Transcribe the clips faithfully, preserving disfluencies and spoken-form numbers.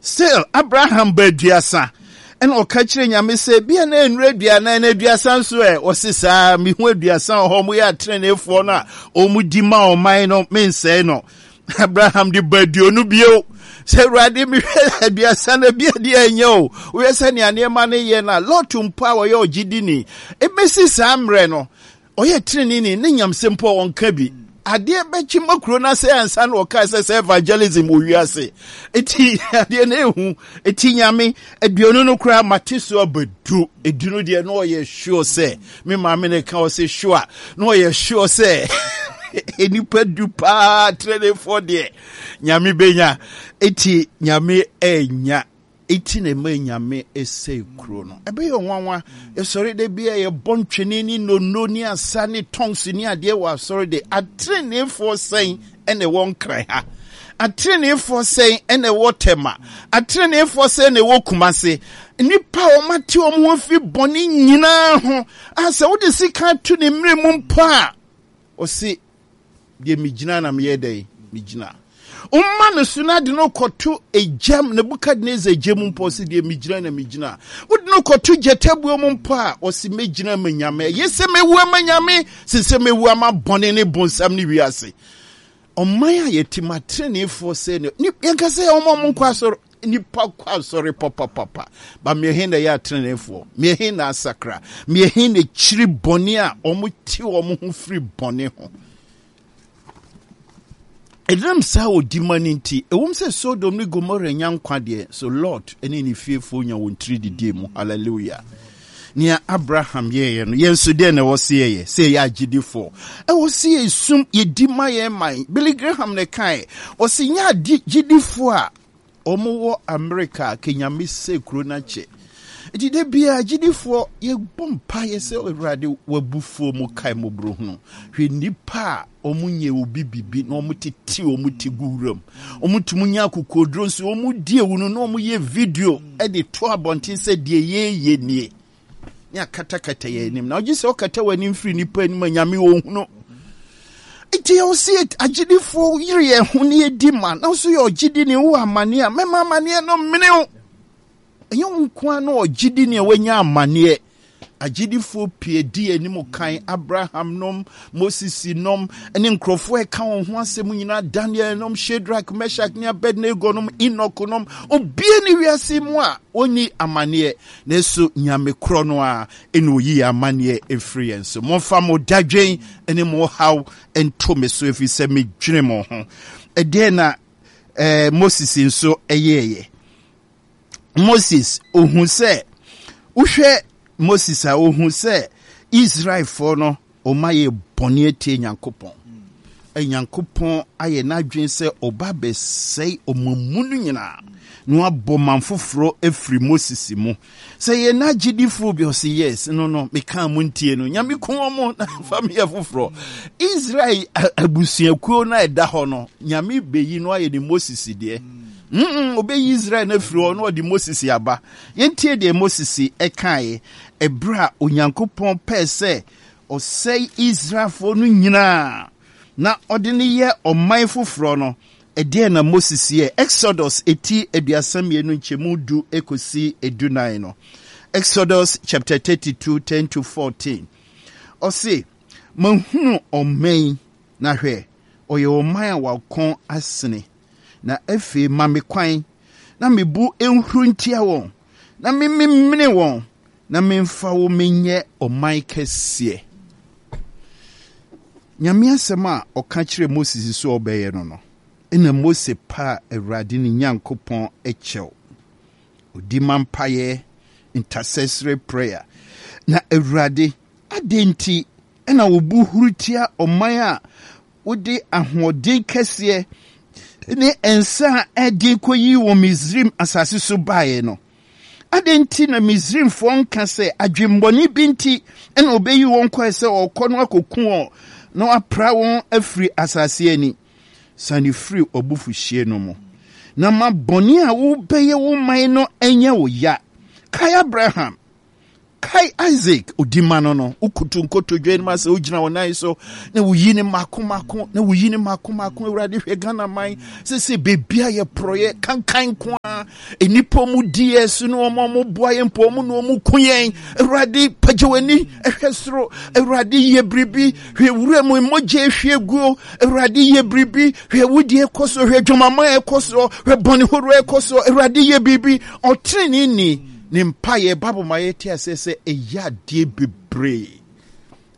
Still Abraham ba aduasa ɛna ɔka kyerɛ Nyame sɛ bia na nnuru aduanan na aduasa nso ɛ. Ɔse saa, mehu aduasa wɔ hɔ, ɔmo yɛ atreneefoɔ no a ɔmo di ma ɔman no, mensɛe no. Abraham de ba aduonu bio sɛ, Awurade, mehwɛ aduasa no bi adeɛ ɛnyɛ o, woyɛ sɛ nea nneɛma no yɛ no a, Lot mpo a ɔyɛ ɔgyedini ɛbɛsi saa mmerɛ no, ɔyɛ tenenee ne nyamsɛm mpo a ɔnka bi, adeɛ bɛkye ma kuro no ase ansa na ɔkaa sɛ sɛ evangelism wɔ wiase. Eti adeɛ no ehu eti Nyame aduonu no koraa mate so abɛdu edu no deɛ, na ɔyɛ sure sɛ me maame ne ka ɔsɛ sure, na ɔyɛ sure sɛ nipa du paa teneneefoɔ deɛ Nyame bɛnya. Eti Nyame ɛnya eti na ɛma Nyame ɛsɛe kuro no. Ɛbɛyɛ ɔnwanwa, yɛsɔre da bi a yɛbɔ ntwene ne nono ne asa ne tongues ne adeɛ wɔ asɔre de, ateneneefoɔ sɛn ɛna ɛwɔ Nkran ha? Ateneneefoɔ sɛn ɛna ɛwɔ Tɛma? Ateneneefoɔ sɛn na ɛwɔ Kumase? Nnipa a wɔate wɔn ho afiri bɔne nyinaa ho a sɛ wode sika to ne mmerɛ mu mpo a, ɔse deɛ megyina na meyɛ dɛn megyina. Woma no so no, ade no kɔto egyam, Nebukadnezar gya mu mpo, ɔse deɛ megyina na megyina. Wode no kɔto gyatabuo mu mpo a, ɔse mɛgyina ma Nyame. Ɛyɛ sɛ mɛwu ama Nyame sen sɛ mɛwu ama bɔne ne bonsam ne wiase. Ɔman a yɛte mu, ateneneefoɔ sɛ ne yɛnka sɛ ɔma ɔmo nkɔ asɔre, nipa kɔ asɔre papapapa ba, mmiɛhe na ɛyɛ ateneneefoɔ? Mmiɛhe na asakra? Mmiɛhe na kyiri bɔne a ɔmo te wɔn ho firi bɔne ho? Ɛnam saa odi ma no nti, ɛwom sɛ Sodom ne Gomora nya nkwa deɛ, so Lot ne ne fiefoɔ nya wɔn tiri didie mu. Hallelujah. Nea Abraham yɛeɛ no, yɛn nso deɛ na ɛwɔ sɛ yɛyɛ sɛ yɛyɛ agyedifoɔ. Ɛwɔ sɛ yɛsum yɛdi ma yɛn man. Billy Graham ne kae, ɔsɛ nyɛ agyedifoɔ a wɔwɔ Amerika a Kenyame sɛ kuro no akyɛ. Nti da biara agyidifoɔ yɛbɔ mpaeɛ sɛ, Awurade, wabufuo mu kae mmɔborɔhunu. Hwɛ nnipa a wɔn nyɛ obi bibi na wɔn tete wɔn ti gu wuram. Wɔn tumi nya akokoduro nso wɔn di ewu no na wɔn yɛ video de to abɔnten sɛ deɛ yɛyɛ nie. Ne akatakata yɛn anim na ɔgye sɛ ɔkata w'anim firi nipa anim a Nyame ɔhunu. Nti yɛwɔ sɛ agyidifoɔ yere yɛn ho ne yɛdi ma na nso yɛ ɔgyidi ne wowɔ amanneɛ a mɛma amanneɛ no mmene wo. Ɛnyɛ wo nko ara na ɔgyidi ne a wanya amanneɛ. Agyidifoɔ pii di anim kan, Abraham nom, Moses nom, ne nkurɔfoɔ a ɛka wɔn ho asɛm nyinaa, Daniel nom, Shadrach, Meshach ne Abednego nom, Enoch nom, obie ne wiase mu a ɔnni amanneɛ. Nanso Nyame korɔ no ara ɛna ɔyi yɛn amanneɛ ɛfiri yɛn so. Momfa mo dadwen ne mo haw nto me so, ɛfiri sɛ medwene mo ho. Ɛdeɛn na eh, Moses nso ɛyɛɛyɛ? Moses ohu sɛ, wohwɛ Moses a, ohu sɛ Israelfoɔ no ɔma yɛ bɔne atie Nyankopɔn. Nyankopɔn ayɛ n'adwene sɛ ɔba bɛsɛe ɔma mu no nyinaa na wabɔ man foforɔ afiri Moses mu. Sɛ yɛ n'agyedifoɔ bi, ɔse yes, no no mekaa mo ntie no, Nyame ku wɔn na fa meyɛ foforɔ. Israel abusuakuo no a ɛda hɔ no, Nyame bɛyi no ayɛ ne Moses deɛ. Mm ɔbɛyi Israel no afiri hɔ na ɔde Moses aba. Yɛntie deɛ Moses ɛkaeɛ ɛberɛ a Onyankopɔn pɛɛ sɛ ɔsɛe Israelfoɔ no nyinaa na ɔde no yɛ ɔman foforɔ no. Ɛdeɛn na Moses yɛ? Exodus eti aduasa mmienu nkyɛmu du ekosi edunan no. Exodus chapter thirty-two, ten to fourteen. Ɔse, mahunu ɔman yi, na hwɛ, ɔyɛ ɔman a wakɔn asene. Na afei ma me kwan na me bo nhuru ntia wɔn, na mememene wɔn, na memfa wo menyɛ ɔman kɛseɛ. Nyame asɛm a ɔka kyerɛ Moses sɛ ɔbɛyɛ no no, ɛna Mose paa Awurade ne Nyankopɔn kyɛw. Ɔdi ma mpaeɛ, intercessory prayer. Na Awurade, adɛn nti ɛna wo bo huru tia ɔman a wode ahoɔden kɛseɛ ne nsa a ɛden kɔyii wɔ Misraim asase so baeɛ no? Adɛn nti na Misraimfoɔ nka sɛ adwemmɔne bi nti ɛna ɔbɛyi wɔn kɔɛ sɛ ɔrekɔ no akɔku wɔn na wapra wɔn afiri asase ani? Sane firi ɔbufuhyeɛ no mu, na ma bɔne a wobɛyɛ wo man no nyɛ wo ya. Kae Abraham, Kae Isaac, odi ma no no, wokoto nkotodwe anim asɛ wogyina wo nan so na woyi ne mako mako na woyi ne mako mako. Awurade, hwɛ Ghana man sese beebi a yɛ porɔyɛ kankan nko ara, nnipa mu di yɛ so ne wɔn a wɔboa yɛn mpo wɔn na wɔn ko yɛn. Awurade, pagya w'ani hwɛ soro. Awurade, yɛ biribi. Hwɛ wura mu mogya ehwie guo. Awurade, yɛ biribi. Hwɛ wudie kɔ so, hwɛ dwamama ɛkɔ so, hwɛ bɔne horow ɛkɔ so. Awurade, yɛ biribi. Ɔteneneeni ne mpaeɛ, Bible ma yɛte aseɛ sɛ ɛyɛ adeɛ bebree.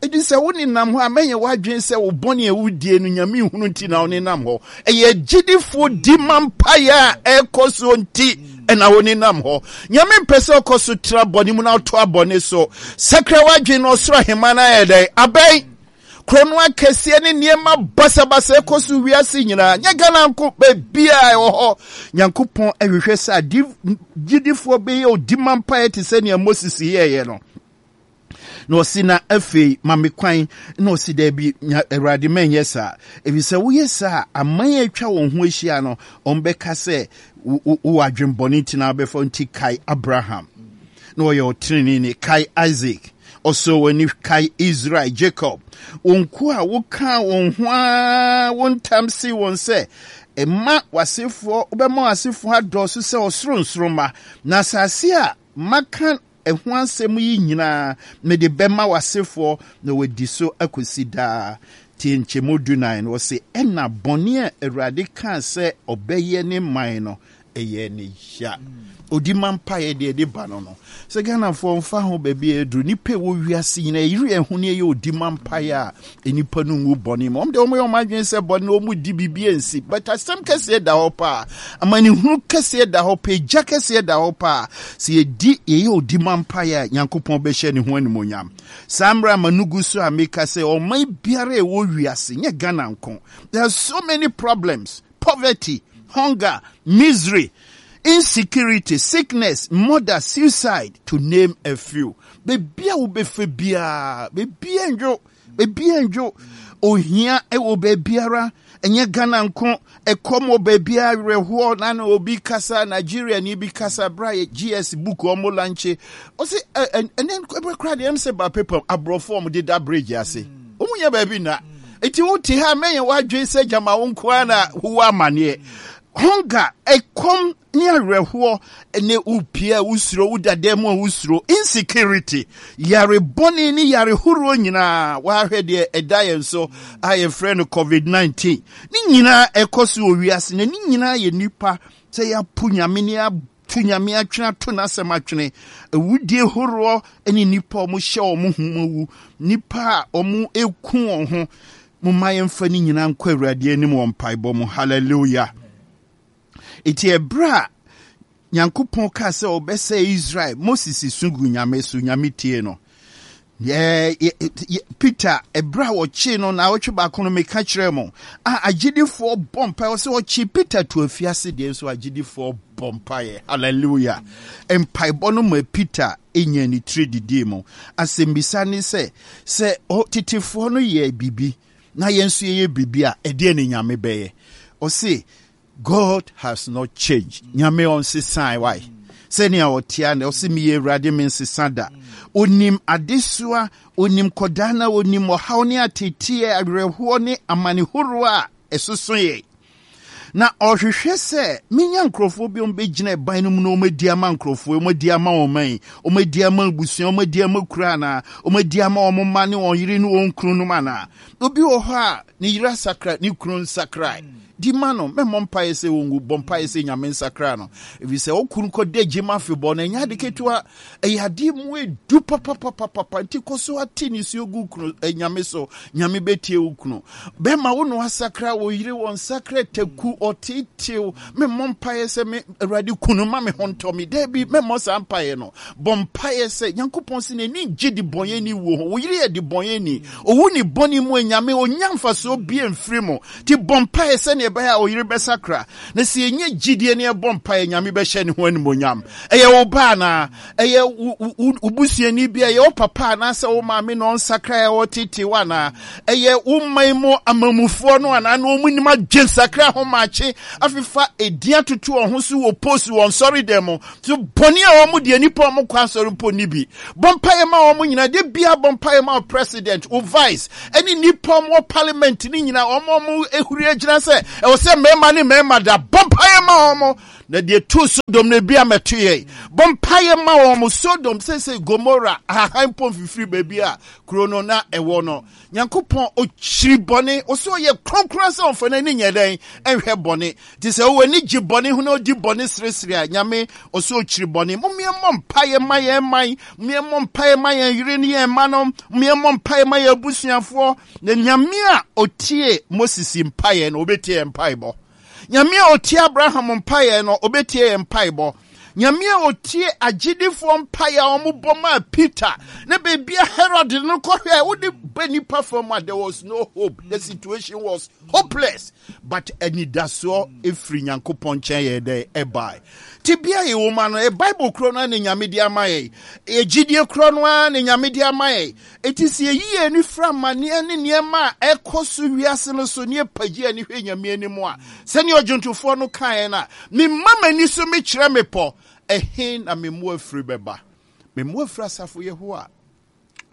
Enti sɛ wo nenam hɔ a, mɛnyɛ w'adwene sɛ wo bɔne a wodie no Nyame nhunu nti na wo nenam hɔ. Ɛyɛ agyidifoɔ di ma mpaeɛ a ɛrekɔ soɔ nti ɛna wo nenam hɔ. Nyame mpɛ sɛ ɔkɔ so tra bɔne mu na ɔtoa bɔne so. Sakra w'adwene na ɔsoro ahemman no ayɛ dɛn? Abɛn. Korɔno akɛseɛ ne nneɛma basabasa ɛkɔ so wiase nyinaa, nyɛ Ghana nko, baabiara ɛwɔ hɔ. Nyankopɔn ɛhwehwɛ sɛ adi gyidifoɔ bɛyɛ odima mpaeɛ te sɛ nea Moses yɛeɛ no. Na ɔsi na afei ma me kwan, na ɔsi daabi, Awurade, mɛnyɛ saa, ɛfiri sɛ woyɛ saa a, aman a atwa wɔn ho ahyia no, wɔbɛka sɛ wowɔ adwembɔne nti na wabɛfa. Nti kae Abraham, na ɔyɛ ɔteneneeni, kae Isaac, ɔsɔ w'ani, kae Israel, Jacob, wo nkoa a wokaa wɔn ho ara wo ntam see wɔn sɛ, mma w'asefoɔ, wobɛma w'asefoɔ adɔɔso sɛ ɔsoro nsoromma, na asase a maka ɛho asɛm yi nyinaa mede bɛma w'asefoɔ na wɔadi so akɔsi daa. Tie nkyɛmu dunan no, ɔse, ɛna bɔne a Awurade kaa sɛ ɔbɛyɛ ne man no, ɛyɛɛ ne ya. Odi ma mpaeɛ deɛ ɛde ba no no. Sɛ Ghanafoɔ mfa ho baabi a ɛduru, nnipa ɛwɔ wiase nyinaa ɛyere yɛn ho ne ɛyɛ odi ma mpaeɛ a, nnipa no ngu bɔne mu. Wɔn deɛ wɔyɛ wɔn adwene sɛ bɔne no wɔn di biribi ansi. But asɛm kɛseɛ da hɔ paa. Amanehunu kɛseɛ da hɔ paa. Egya kɛseɛ da hɔ paa. Sɛ yɛdi yɛyɛ odi ma mpaeɛ a, Nyankopɔn bɛhyɛ ne ho animuonyam. Saa mmerɛ a m'ano gu so a meka sɛ ɔman biara a ɛwɔ wiase, nyɛ Ghana nko, there are so many problems, poverty, hunger, misery, insecurity, sickness, murder, suicide, to name a few. Baabi a wobɛfa biara, baabi a ndwo, baabi a ndwo, ohia wɔ baabiara, ɛnyɛ Ghana nko, ɛkɔm wɔ baabiara, awerɛhoɔ, na na obi kasa, Nigeria ni bi kasa, bra yɛ G S book ɔmo lanche, ɔse ɛnɛ ɛbɛ kora deɛ ɛm sɛ ba paper aborɔfo ɔmo deda bridge ase, ɔmo nyɛ baabi na, eti wote ha mɛnyɛ w'adwene sɛ gyama wo nko ara na wowɔ amaneɛ. Hunger, ɛkɔm ne awerɛhoɔ, ne wopie a wosuro, woda dan mu a wosuro, insecurity, yare bɔne ne yare horoɔ nyinaa, wahwɛ deɛ ɛda yɛn so a yɛfrɛ no COVID nineteen, ne nyinaa ɛkɔ so wɔ wiase, na ne nyinaa yɛ nipa sɛ yɛapo Nyame ne ato Nyame atwene, ato n'asɛm atwene. Awudie horoɔ ne nipa a wɔhyɛ wɔn ho mu awu, nipa a wɔn eku wɔn ho. Momma yɛmfa ne nyinaa nkɔ Awurade anim wɔ mpaebɔ mu. Hallelujah. Eti ɛberɛ a Nyankopɔn kaa sɛ ɔbɛsɛe Israel, Moses su gu Nyame so, Nyame tie no. Peter, ɛberɛ a wɔkyee no na awɔtwe baako no meka kyerɛ mo a, agyidifoɔ bɔ mpaeɛ sɛ ɔkye Peter to afiase deɛ nso agyidifoɔ bɔ mpaeɛ. Hallelujah. Mpaebɔ no ma Peter nya ne tiri didii mu. Asɛmmisa ne sɛ, sɛ tetefoɔ no yɛ biribi na yɛn nso yɛyɛ biribi a, ɛdeɛ ne Nyame bɛyɛ? Ɔse God has not changed. Nyame ɔnsesan wae. Sɛnea ɔtea na ɔse meyɛ Awurade, me nsesa da. Onim adesoa, onim kɔdaa na onim ɔhaw ne ateteɛ, awerɛhoɔ ne amane horoɔ a ɛsoso yɛn. Na ɔhwehwɛ sɛ menya nkurɔfoɔ bi a wɔbɛgyina ɛban no mu na wɔadi ama nkurɔfoɔ, wɔadi ama wɔn man, wɔadi ama abusua, wɔadi ama kuro anaa, wɔadi ama wɔn mma ne wɔn yere ne wɔn kununom anaa. Obi wɔ hɔ a ne yere asakra, ne kunu nsakrae. Di ma no, mɛmmɔ mpaeɛ sɛ wɔnwu, bɔ mpaeɛ sɛ Nyame nsakra no. Ɛfiri sɛ wo kunu kɔda gyem afebɔɔ no, ɛnyɛ ade ketewa, ɛyɛ adeɛ mu edu papapapapa. Nti kɔ so ate nisuo gu kunu eh, Nyame so, Nyame bɛtie wo kunu. Bɛma wo no asakra, wo yere wɔ nsakra taku, ɔteetew. Memmɔ mpaeɛ sɛ me Awurade kunu ma me ho ntɔ me. Daabi, mɛmmɔ saa mpaeɛ no. Bɔ mpaeɛ sɛ Nyankopɔn sɛ n'ani gye de bɔnyɛni wuo ho. Wo yere yɛ de bɔnyɛni. Owu ne bɔne mu anyame, ɔnya mfasoɔ bie mfiri mu. Nti bɔ mpaeɛ sɛdeɛ ɛbɛyɛ a ɔyere bɛsakra. Na sɛ yɛnya gyidie ne yɛbɔ mpaeɛ, Nyame bɛhyɛ ne ho animuonyam. Ɛyɛ wo ba anaa? Ɛyɛ wo busuani bi a ɛyɛ wo papa anaasɛ wo maame na ɔnsakra a ɔtete wo anaa? Ɛyɛ wo man mu amamufoɔ no anaa na wɔn nim adwensakra ho maakye afefa edin atoto wɔn ho so wɔ post wɔn nsɔre dɛm mu so bɔne a wɔn deɛ nipa wɔn kɔ asɔre mpo ni bi. Bɔ mpaeɛ ma wɔn nyinaa de bia. Bɔ mpaeɛ ma wo president, wo vice, ɛne nipa wɔn wɔ parliament ne nyinaa, wɔn wɔn ehuri agyina sɛ ɛwɔ sɛ mmarima ne mmarima da. Bɔ mpaeɛ ma wɔn na deɛ tu Sodom no ebi amɛto yɛ. Bɔ mpaeɛ ma wɔn. Sodom sese Gomora ahahan mpo mfifiri baabi a kuro no na ɛwɔ no. Nyankopɔn ɔkyiri bɔne, ɔsɛ ɔyɛ kronkron sɛ ɔmfa n'ani nyɛ dɛn ɛnhwɛ bɔne. Nti sɛ wowɔ ani gye bɔne ho na ɔdi bɔne seresere a, Nyame ɔsɛ ɔkyiri bɔne. Momeɛmmɔ mpaeɛ ma yɛn man, momeɛmmɔ mpaeɛ ma yɛn yere ne yɛn mma no, momeɛmmɔ mpaeɛ ma yɛn abusuafoɔ. Na Nyame a ɔtie Moses mpaeɛ no, ɔbɛtie yɛn mpaebɔ. Nyame a ɔtie Abraham mpaeɛ no, ɔbɛtie yɛn mpaebɔ. Nyame a ɔtie agyedifoɔ mpaeɛ a wɔbɔ maa Peter na baabi a Herod no kɔhwɛ a wode ba nipa fam a, there was no hope, the situation was hopeless, but anidasoɔ ɛfiri Nyankopɔn nkyɛn yɛ dɛ ɛbae. Nti bia yɛwɔ mu ano ɛ Bible korɔ no a ne Nyame de ama yɛ, yɛgyidie korɔ no a ne Nyame de ama yɛ. Ɛti sɛ yɛyi yɛn ani firi amanneɛ ne nneɛma a ɛkɔ so wiase no so ne yɛpagye ani hwɛ Nyame anim a, sɛnea ɔdwontofoɔ no kaeɛ no a, memma m'ani so mekyerɛ mepɔ, ɛhe na me mmoa firi bɛba? Me mmoa firi asafo Yehowa,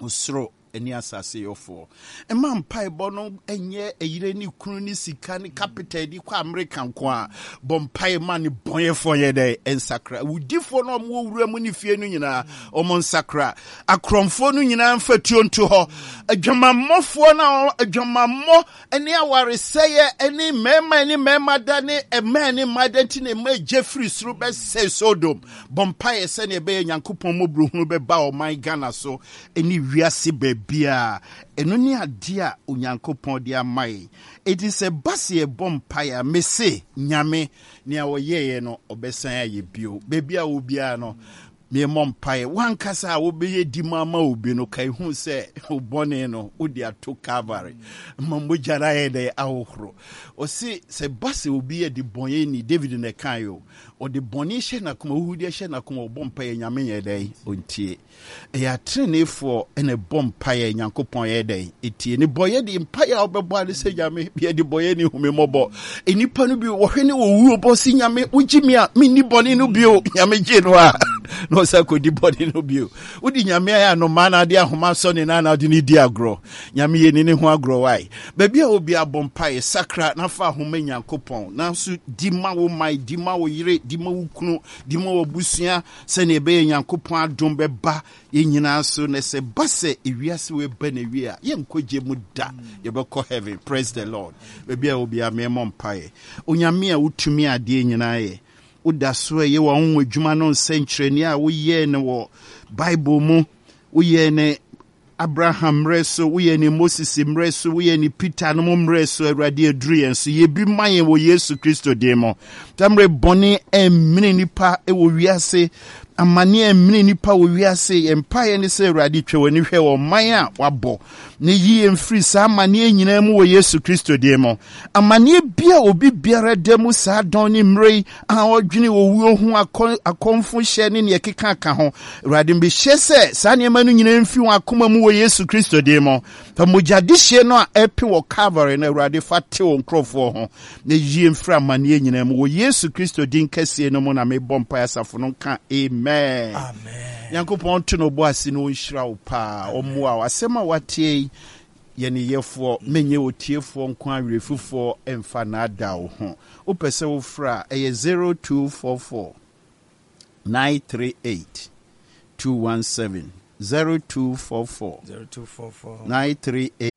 ɔsoro ne asase yɔfoɔ. Mma mpaebɔ no nyɛ ɛyere ne kunu ne sika ne capital de kɔ Amerika nko a. Bɔ mpae ma ne bɔnyɛfoɔ yɛ dɛ nsakra, awudifoɔ no a wɔwɔ wura mu ne fie no nyinaa wɔn nsakra, akorɔmfoɔ no nyinaa mfa tuo nto hɔ, adwamammɔfoɔ no a adwamammɔ ne awaresɛeɛ ne mmarima ne mmarima da ne mmaa ne mmaa da nti na mmaa gye firi soro bɛsɛe Sodom. Bɔ mpaeɛ sɛnea ɛbɛyɛ Nyankopɔn mmɔborɔhunu bɛba ɔman Ghana so ne wiase baabiara. Ɛno ne adeɛ a Onyankopɔn de ama yɛn. Enti sɛ ba sɛ yɛbɔ mpaeɛ a, mese Nyame nea ɔyɛeɛ no ɔbɛsan ayɛ bio. Baabi a wɔ biara no, memmɔ mpaeɛ. Wankasa a wobɛyɛ di mu ama obi no, ka ehu sɛ wo bɔne no wode ato Calvary ma mogya no ayɛ dɛ ahohoro. Ɔse sɛ ba sɛ obi yɛ de bɔne ni, David na ɛkae o, ɔde bɔne hyɛ n'akoma, huhudeɛ hyɛ n'akoma, ɔbɔ mpaeɛ Nyame yɛ dɛn ɔntie. Ɛyɛ ateneneefoɔ na ɛbɔ mpaeɛ Nyankopɔn yɛ dɛn ɛtie ne bɔyɛ de mpaeɛ a wobɛbɔ ade sɛ Nyame yɛde bɔyɛ ne hu me mmɔbɔ. Nnipa no bi wɔhwɛ ne wɔwuo bɔ se Nyame wogye me a menni bɔne no bio. Nyame gye no a na ɔsa kɔdi bɔne no bio. Wode Nyame ayɛ anomaa na ade ahoma sɔ ne nan na wode ne di agorɔ. Nyame yɛ ni ne ho agorɔ wae. Baabi a obi abɔ mpaeɛ, sakra na fa ahoma Nyankopɔn nanso di ma wo man, di ma wo yere, di ma wo kunu, di ma w'abusua, sɛnea ɛbɛyɛ Nyankopɔn adom bɛba yɛn nyinaa so. Na sɛ ba sɛ ewiase wei ba na wie a, yɛnkɔ gye mu da, yɛbɛkɔ heaven. Praise the Lord. Baabi a obiara, mɛmmɔ mpaeɛ. Onyame a wotumi adeɛ nyinaa yɛ, woda so ɛyɛ wɔn ho adwuma no nsɛnkyerɛnneɛ a woyɛɛ no wɔ Bible mu, woyɛɛ ne Abraham mmerɛ so, woyɛ ne Moses mmerɛ so, woyɛ ne Peter no mu mmerɛ so. Awurade, aduru yɛn so, yɛ bi ma yɛn wɔ Yesu Kristo din mu. Tammerɛ bɔne ɛmmene nipa wɔ wiase, amane ɛmmene nipa wɔ wiase. Yɛn mpaeɛ ne sɛ, Awurade, twa w'ani hwɛ wɔ ɔman a wabɔ na yi yɛn firi saa amanneɛ nyinaa mu wɔ Yesu Kristo din mu. Amanneɛ bi a obi biara da mu saa dɔn ne mmerɛ yi a ɔdwene owuo ho, akɔmfo hyɛ ne neɛ ɛkeka ka ho, Awurade, mehyɛ sɛ saa nneɛma no nyinaa mfi wɔn akoma mu wɔ Yesu Kristo din mu. Fa mogyadehyeɛ no a ɛpe wɔ Calvary no, Awurade, fa te wo nkurɔfoɔ ho na yie mfiri amanneɛ nyinaa mu wɔ Yesu Kristo din kɛseɛ no mu na mebɔ mpaeɛ. Asafo no nka amen. Nyankopɔn nto no bɔ ase na ɔnhyira wo paa, ɔmmoa wo. Asɛm a watie yi, yɛ ne yɛfoɔ, menyɛ otiefoɔ nko awerɛfifoɔ mfa naadaa wo ho. Wopɛ sɛ wofrɛ a, ɛyɛ zero two four four nine three eight two one seven, zero two four four zero two four four nine three eight.